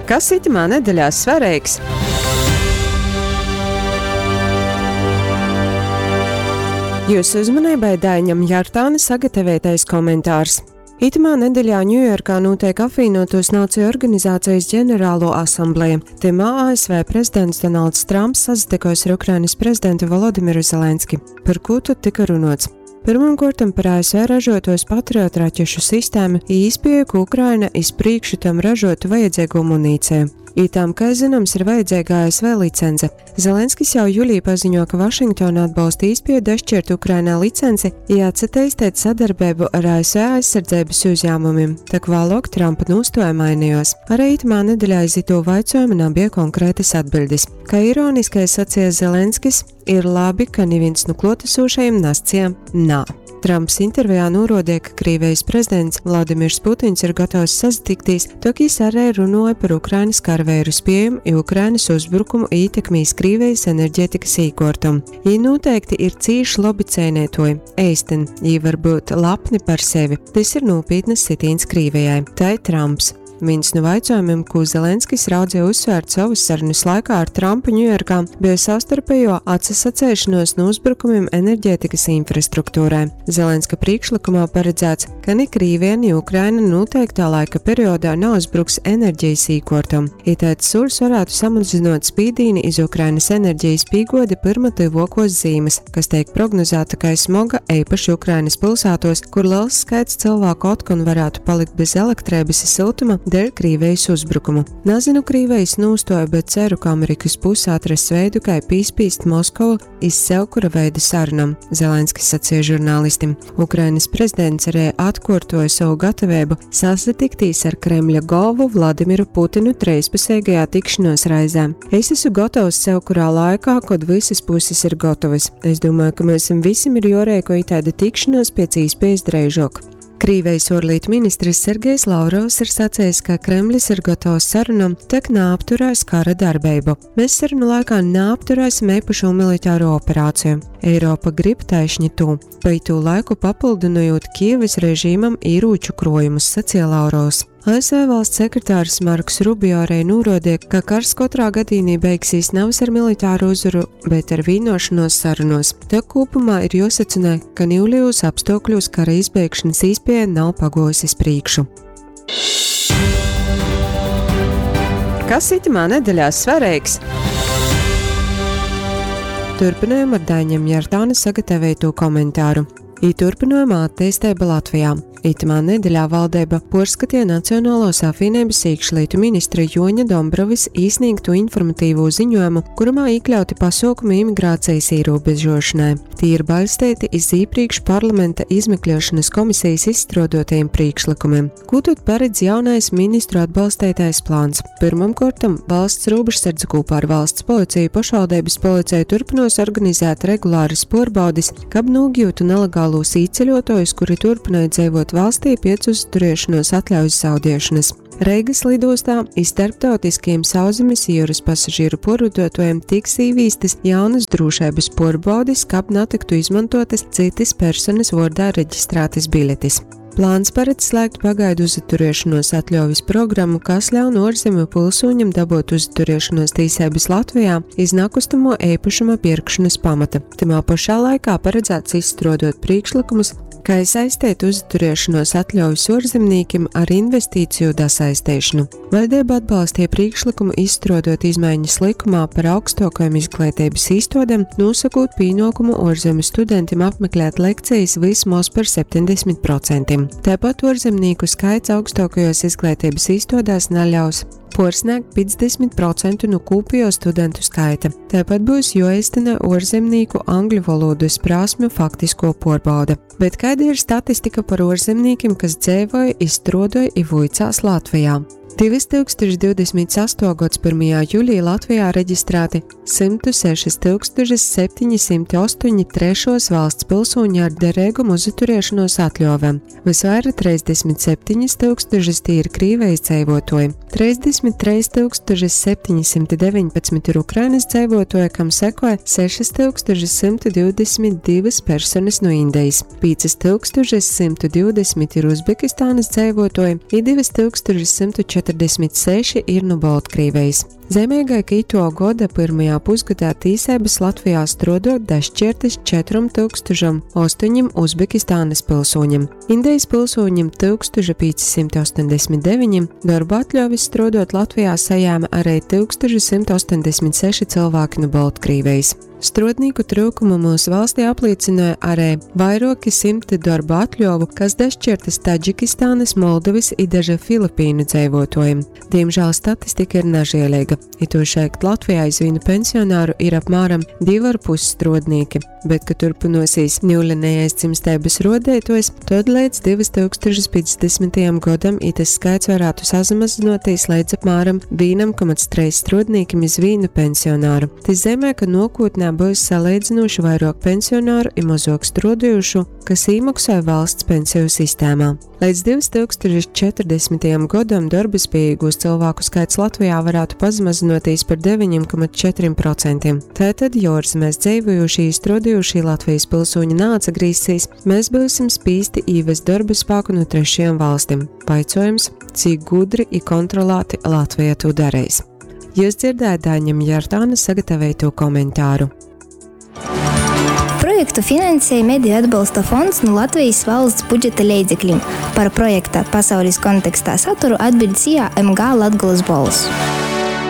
Kas itymā nedeļā svareigs? Jūsu uzmanībai Daiņam Jartāna sagatavotais komentārs. Itymā nedeļā Ņujorkā nūteik Apvīnuotūs Nāciju Organizācijas ģenerāluo asambleja. Tymā ASV prezidents Donalds Tramps sasatykos ar Ukrainas prezidentu Volodimiru Zelenski. Par kū tod tyka runuots? Pyrmumkuortom par ASV ražuotuos Patriot raķešu sistēmu i īspieju, ka Ukraina iz prīkšu tam ražuotu vajadzeigū munīceju. I tam, kai zynoms, ir vajadzeiga ASV licence. Zelenskis jau julī paziņo, ka Vašingtona atbolsta īspieju dašķiert Ukrainai licenci i atsateisteit sadarbeibu ar ASV aizsardzeibys uzjāmumim, tok vāluok Trampa nūstuoja mainejuos. Ari itymā nedeļā iz itū vaicuojumu nabie konkrētys atbiļdis. Kai ironiskai saceja Zelenskis, Ir labi, ka nivīns nu kluotasūšajim nasceja nā. Tramps intervijā nūruodeja, ka Krīvejis prezidents Vladimirs Putins ir gotovs sasatiktīs, tok jis ari runuoja par Ukrainys karaveiru spiejom i Ukrainys uzbrukumu ītekmi iz Krīvejis energetikys īkuortom. Jī nūteikti ir cīši lobi ceineituoji, eistyn, jī var byut lapni par sevi. Tys ir nūpītnys sitīns Krīvejai, tai Tramps. Vīns nu vaicuojumim, kū Zelenskis raudzeja uzsvērt sovys sarunys laikā ar Trampu Ņujorkā, beja savstarpejuo atsasaceišonuos nu uzbrukumim enerģētikys infrastruktūrai. Zelenska prīšklykumā paredzāts, ka ni Krīvija, ni Ukraina nūteiktā laika periodā nauzbruks enerģejis īkuortom. Itaids sūļs varātu samazynuot spīdīni iz Ukrainys enerģejis pīguodi pyrma tyvuokuos zīmys, kas teik prognozāta kai smoga eipaši Ukrainys pylsātuos, kur lels skaits cylvāku otkon varātu palikt bez elektreibys i syltuma deļ Krīvejis uzbrukumu. Nazynu Krīvejis nūstuoju, bet ceru, ka Amerikys puse atrass veidu, kai pīspīst Moskovu iz sevkura veida sarunom, Zelenskis saceja žurnālistim. Ukrainys prezidents arī atkuortuoja sovu gataveibu sasatiktīs ar Kremļa golvu Vladimiru Putinu treispuseigajā tikšanuos reizē. Es esmu gotovs sevkurā laikā, kod vysys pusis ir gotovys. Es domāju, ka myusim vysim ir juoreiko itaida tikšanuos piec īspiejas dreižuok. Krīvejis uorlītu ministrs Sergejs Lavrovs ir sacejs, ka Kremlis ir gotovs sarunom, tok naapturēs kara darbeibu. Mēs sarunu laikā naapturēsim eipašū militāro operāciju. Eiropa grib taišņi tū. Pa itū laiku papyldynojūt Kijevys režīmam īrūču kruojumus, saceja Lavrovs. ASV valsts sekretārs Marks Rubio arī nūruodeja, ka kars kotrā gadīnī beigsīs navys ar militāru uzvaru, bet ar vīnuošonuos sarunuos. Tok kūpumā ir juosecynoj, ka niulejūs apstuokļūs kara izbeigšonys īspieja nav paguojusi iz prīkšu. Kas itymā nedeļā svareigs? Turpynojam ar Daiņa Mjartāna sagataveitū komentāru. I turpynojama atteisteiba Latvijā. Itymā nedeļā valdeiba puorskateja Nacionaluos apvīneibys īkšlītu ministra Juoņa Dombrovis īsnīgtū informatīvū ziņojumu, kurymā īkļauti pasuokumi imigrācejis īrūbežuošonai. Tī ir baļsteiti iz īprīkš parlamenta izmekliešonys komisejis izstruoduotajim prīšklykumim. Kū tod paredz jaunais ministru atbalsteitais plāns? Pyrmomkuortom, Valsts rūbežsardze kūpā ar Valsts policiju i pošvaldeibys policeju turpynuos organizēt regulārys puorbaudis, kab nūgiutu nalegalūs īceļuotuojus, kuri turpynoj dzeivuot valstī piec uzturiešonuos atļaujis zaudiešonys. Reigys lidūstā i starptautiskajim sauszemis i jiurys pasažīru puorvoduotuojim tiks īvīstys jaunys drūšeibys puorbaudis, kab natyktu izmontuotys cytys personys vuordā registrātys biletis. Plāns paredz slēgt pagaidu uzaturiešonuos atļauvis programu, kas ļaun uorzemju pylsūņam dabuot uzaturiešonuos tīseibys Latvejā iz nakustamo eipašuma pierkšonys pamata. Tymā pošā laikā paradzāts izstruoduot prīšklykumus, kai saisteit uzaturiešonuos atļauvis uorzemnīkim ar investīciju dasaisteišonu. Vaļdeiba atbalsteja prīšklykumu izstruoduot izmaiņas lykumā par augstuokajom izgleiteibys īstuodem, nūsokūt pīnuokumu uorzemju studentim apmeklēt lekcejis vysmoz par 70%. Taipat uorzemnīku skaits augstuokajuos izgleiteibys īstuodēs naļaus puorsnēgt 50% nu kūpejuo studentu skaita. Taipat byus juoeistynoj uorzemnīku angļu volūdys prasmju faktiskuo puorbaude. Bet kaida ir statistika par uorzemnīkim, kas dzeivoj i struodoj i vuicās Latvejā? 2028. Gods 1. julī Latvijā reģistrēti 106 708 trešos valsts pilsūņi ar dereigumu uzturēšanos atļovem. Vysvaira 37 tūkstošus tī ir Krīvejis dzeivuotuoji, 33 719 ir Ukrainys dzeivuotuoji, kam sekoja 6122 personys nu Indejis, 5120 ir Uzbekistanys dzeivuotuoji i 2140. 46 ir nu Boltkrīvejis. Zeimeigai, ka ituo goda pyrmajā pusgodā tīseibys Latvijā struoduot dašķiertys 4008 Uzbekistānys pilsūņim, Indejis pilsūņim 1589, dorba atļuovis struoduot Latvijā sajēma ari 1186 cylvāki nu Boltkrīvejis. Struodnīku tryukumu myusu valstī aplīcynoja ari vairuoki symti dorba atļuovu, kas dašķiertys Tadžikistānys, Moldovys i daže Filipīnu dzeivuotuojim. Dīmžāl statistika ir nažieleiga. Itūšaļt Latvijā iz vīnu pensionaru ir apmāram 2,5 struodnīki, bet, ka turpynuosīs niulenejais dzimsteibys ruodeituojs, tod leidz 2050. Godam itys skaits varātu sasamazynuotīs leidz apmāram 1,3 struodnīkim iz vīnu pensionaru. Tys zeimej, ka nuokūtnē byus saleidzynūši vairuok pensionaru i mozuok struoduojušu, kas īmoksoj valsts penseju sistēmā. Leidz 2040. Godam dorbaspiejīgūs cylvāku skaits Latvijā varātu pasamazynuotīs par 9,4%. Tātad, jo ārzemēs dzeivojūšī i struoduojušī Latvejis pilsūņi naatsagrīzsīs, mes byusim spīsti īvest dorba spāku nu trešajom valstim. Vaicuojums, cik gudri i kontrolāti Latveja tū dareis? Jius dzierdējat Daiņa Jartāna sagataveitū komentāru. Projektu finansēja Mediju atbalsta fonds nu Latvejis valsts budžeta leidzeklim. Par projekta Pasaulis kontekstā saturu atbiļd SIA MG Latgolys bolss.